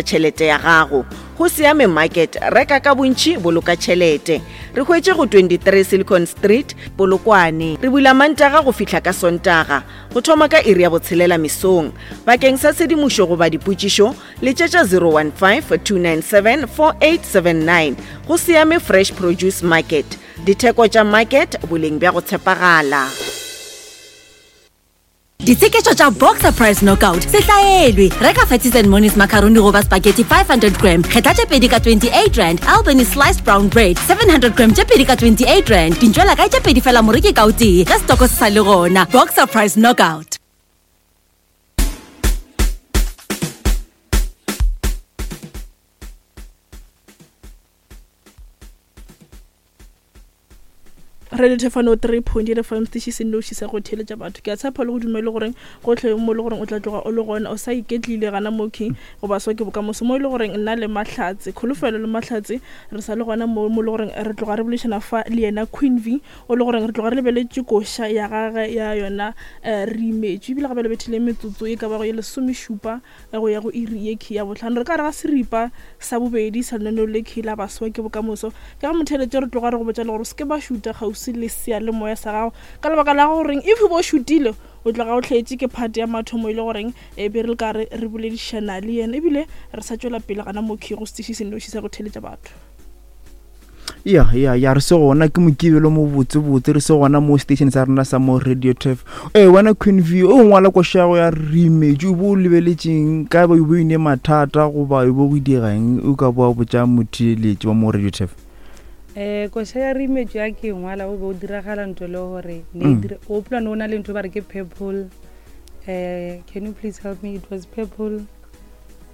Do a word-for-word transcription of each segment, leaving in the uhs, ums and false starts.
Tšhelete ya gago. Go Siame Market, reka ka bontši, boloka tšhelete. Re hwetše go twenty-three Silicon Street, Polokwane. Re bula Mantaga go fihla ka Sontaga, go thoma ka iri ya botshelela mesong. Bakeng sa tshedimošo goba dipotšišo, letšetša zero one five, two nine seven, four eight seven nine. Go Siame Fresh Produce Market. Ditheko tša market, boleng bja go tshepagala. Ditsheketšo tša Boxer Price Knockout se hlaelwe. Reka Fatties and Monies macaroni goba spaghetti five hundred gram, kgetha tše pedi ka twenty-eight rand. Albany sliced brown bread seven hundred gram tše pedi ka twenty-eight rand. Dintšwela kae tše pedi fela moreki ka o tee, ge setoko se sa le gona. Boxer Price Knockout. Radio Thefano three point eight F M, station se nnoši sa go theeletša batho. Ke a tshepa le go dumele goreng gohle mo le goreng o tla tloga o le gona, o sa iketlile gana mo king goba so ke bokamoso mo e le goreng nna le Mahlatse, Kholofelo le Mahlatse re sa le gona mo, mo le goreng re tloga re boledišana fa le yena Queen V, o le goreng re tloga re lebeletše koša ya gagwe ya yona, eh, re imetšwe. Ebile gape le bethile metsotso e ka bago ye lesomešupa go ya go iri ye key ya bohlano. Re ka re ga seripa sa bobedi sa lenaneo le key la baswa ke bokamoso. Ke ga motheeletše re tloga re go botša le gore o se ke ba šuta kgauswi le seyalemoya sa gago, ka lebaka la goreng if bo šutile o tloga o hletše ke part ya mathomo e le goreng e be re le ka re re boledišana le yena, ebile re sa tšwela pele gana mo key go setiši se nnoši sa go theeletša batho. Ya, ya, ya, re se gona ke mokibelo mo botsebotse, re se gona mo station sa rena sa mo Radio Turf. Eh, wena Queen V, o ngwala koša ya re imetšwe, o bo o lebeletšeng, ka ba o bo ine mathata goba o bo go dira eng, o ka boa botša motheeletši wa mo Radio Turf? Eh, koša ya re imetšwe ya ke ngwala, o be o diragala ntho le gore ne Mm. dire, o hopola ne o na le ntho ba re ke purple. Eh, can you please help me? It was purple.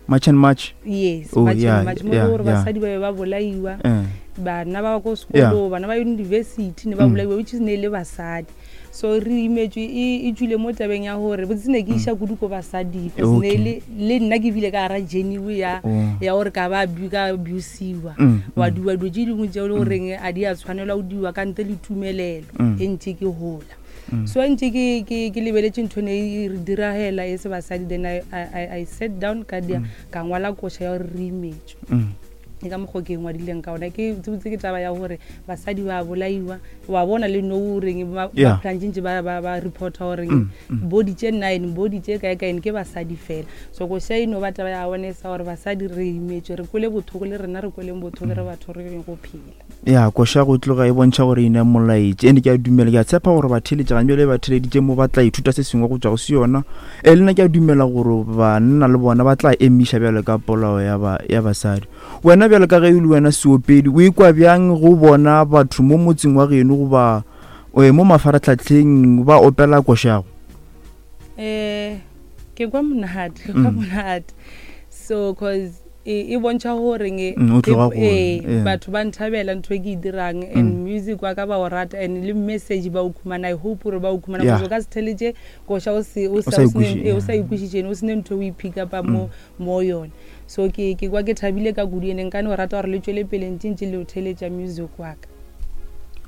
March and March. Yes, Oh, March and yeah, March. Mo yeah, gore yeah. basadi ba be ba bolaiwa, Eh. bana ba ko Yeah. sekolong, bana ba university ne ba Mm. bolaiwa, which is ne le basadi. So re imetšwe e, e tšwile mo tabeng ya gore botse ne ke iša kudu ko basading, because ne Okay. le, le nna ke bile ka gara journey ya, Oh. ya gore ka ba abu-, ka abusiwa. Mm, Wa mm. diwa dilo tše dingwe tšeo e le goreng a di a tshwanelwa go diwa ka ntle le tumelelo, Mm. e ntše ke gola. Mm. So ntše ke, ke, ke lebeletše ntho ne e re diragela e se basadi, then I, I, I, I sat down ka dia, Mm. ka ngwala koša ya gore re imetšwe. Mm. Ke ka mokgwa ke ngwadileng ka ona. Ke tsebotse ke taba ya gore basadi ba bolaiwa, wa bona le nou goreng ba, ba Yeah. plantšentše ba, ba, ba reporta gore Mm, mm. body tše nine, body tše kae kae ke basadi fela. So koša e no ba taba ya awareness ya gore basadi re imetšwe, re kwele bothoko le rena re kweleng bothoko re batho re yeng go phela. Ya, koša go tloga e bontšha gore ena molaetši. Ene ke a dumela, ke a tshepa gore batheeletši gantši bjale ba theeleditše mo ba tla ithuta se sengwe go tšwa go se yona. Eh, le nna ke a dumela gore banna le bona ba tla emiša bjalo ka polao ya ba, ya basadi. Wena bjalo ka ge e le wena seopedi, o ikwa bjang go bona batho mo motseng wa geno goba, eh, mo mafaratlhatlheng ba opela košago? Eh, ke kwa monate, ke kwa Mm. monate. So, 'cause e, e bontšha gore nge Mm, o tloga e, go, eh, yeah. batho ba nthabela ntho e ke e dirang, and Mm. music wa ka ba o rata, and le message ba o khumana. I hope gore ba o khumana, Yeah. because o ka se theletše koša o se, o O sa, sa o se ne, ikweši, eh, o sa yeah. ikwešiše, o se ne ntho e o e pick up-a Mm. mo, mo yone. So ke, ke kwa ke thabile ka kudu, ene nka no rata gore le tšwele pele ntše ntše le o theletša music wa ka.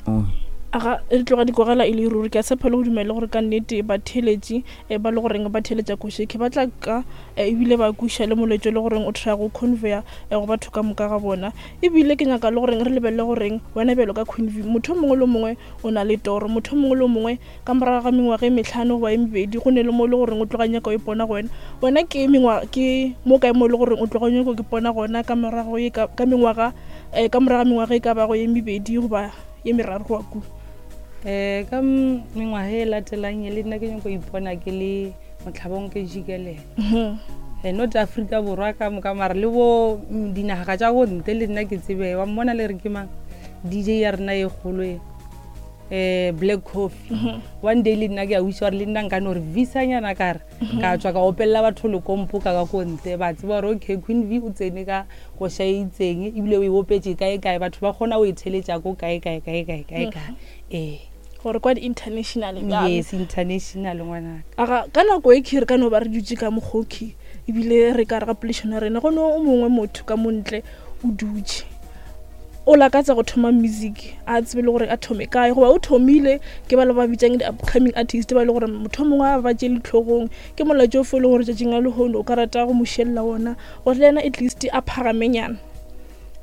Oh. Aga, re tloga dikorela e le ruri. Ke a tshepa le go dumela gore ka nnete batheeletši, eh, ba le goreng ba theeletša koša ke ba tla ka, eh, ebile ba kweša le molaetša le goreng o try go conveya, eh, go batho ka moka ga bona. Ebile ke nyaka le goreng re lebelele goreng wena bjalo ka Queen V, motho o mongwe le o mongwe o na le toro, motho o mongwe le o mongwe ka morago ga mengwaga e mehlano goba e mebedi go ne le mo e le goreng o tloga nyaka o ipona go wena. Wena ke mengwa-, ke mo kae mo e le goreng o tloga nyaka o ipona gona ka morago e ka, ka mengwaga, eh, ka morago ga mengwaga e ka bago ye mebedi goba ye meraro go ya kua? Eh, ka m-, mengwaga e latelang e le nna ke nyako ipona ke le motlhabong ke jikelele. Mhm. Eh, not Afrika Borwa ka moka, mara le bo, mm, dinaga tša go ntle le nna ke tsebe. Wa mmona le re ke mang? D J ya rena e kgolo e, eh, Black Coffee. Mhm. One day le nna ke a wish gore le nna nka no re visa-nyana ka re, Mhm. ka tswa ka opelela batho lekompo ka ka ko ntle, ba tseba gore okay, Queen V o tsene ka koša e itseng, ebile o e opetše kae kae, batho ba kgona go e theeletša ko kae kae kae kae kae kae. Mhm. Eh. Gore kwa di-international bjalo. Yes, international ngwanaka. Aga, ka nako e key re ka no ba re dutše ka mokgoki, ebile re ka re ga poledišano ya rena, go no o mongwe motho ka mo ntle o dutše. o lakatsa go thoma music a tsebe le gore a thome kae goba o thomile ke ba le ba bitsang di-upcoming artist ba e le gore motho mongwe a ba tšele tlhogong ke molaetša o fo e le gore tšatšing la lehono o ka rata go mo šelela ona gore le yena at least a phagamenyana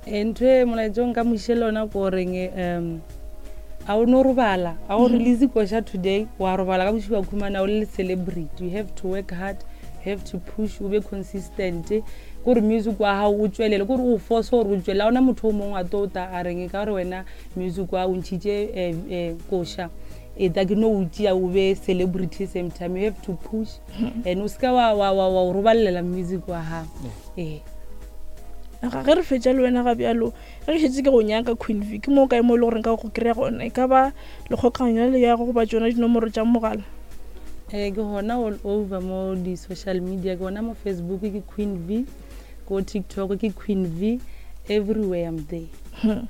Eh, ntho e molaetša o nka mošele ona ko goreng um a o no robala a o release koša today wa robala ka bošego wa khumana o le celebrity you have to work hard you have to push o be consistent kore music wa gago o tswelele kore o force gore o tswelele a ona motho o mongwe a tlo ta a reng ka gore wena music wa o ntšhitše eh, eh, koša e ta ke no o tšea o be celebrity same time you have to push and o seka wa wa wa wa o robalela music wa gago ee ga ge re fetša le wena ga bjalo ge ke šetse ke go nyaka queen v ke mo kae mo e le goreng ka go kry-a gona e ka ba lekgokanyo le ya go goba tsona dinomoro tša mogala um ke gona all over mo di-social media ke gona mo facebook ke queen v ko tiktok ke queen v everywhere i'm there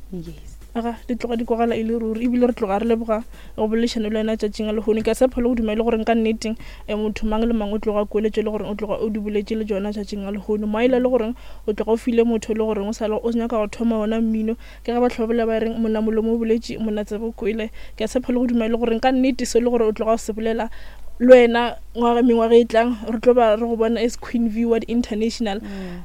yes aga di tloga di kwagala e le ruri ebile re tloga re leboga go boledišana le wena tšatšing a lehono ke a tshepa le go dumele gore nka nneteng um motho mang le mang o tloga kweletše le gore o tloga o di boletše le tsona tšatšing a lehono maela le goreng o tloga o file motho le goreng o sale o nyaka go thoma ona mmino ke ge batho ba bolela ba reng monna molomo o boletše monna tsebe o kwele ke a tshepa le go dumele gore nka nnete se le gore o tloga o se bolela le wena ngwaga mengwaga e tlang re tlo ba re go bona as queen v world international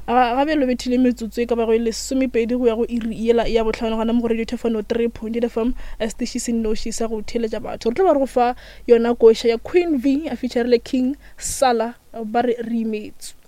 ga bjalo bethile metsotso e ka bago e lesomepedi go ya go iri yela ya botlhano gona mo go radio thefano three point eight fm station se nnoši sa go theeletša batho re tlo ba re go fa yona koša ya queen v a featurile king sala ba re re imetswe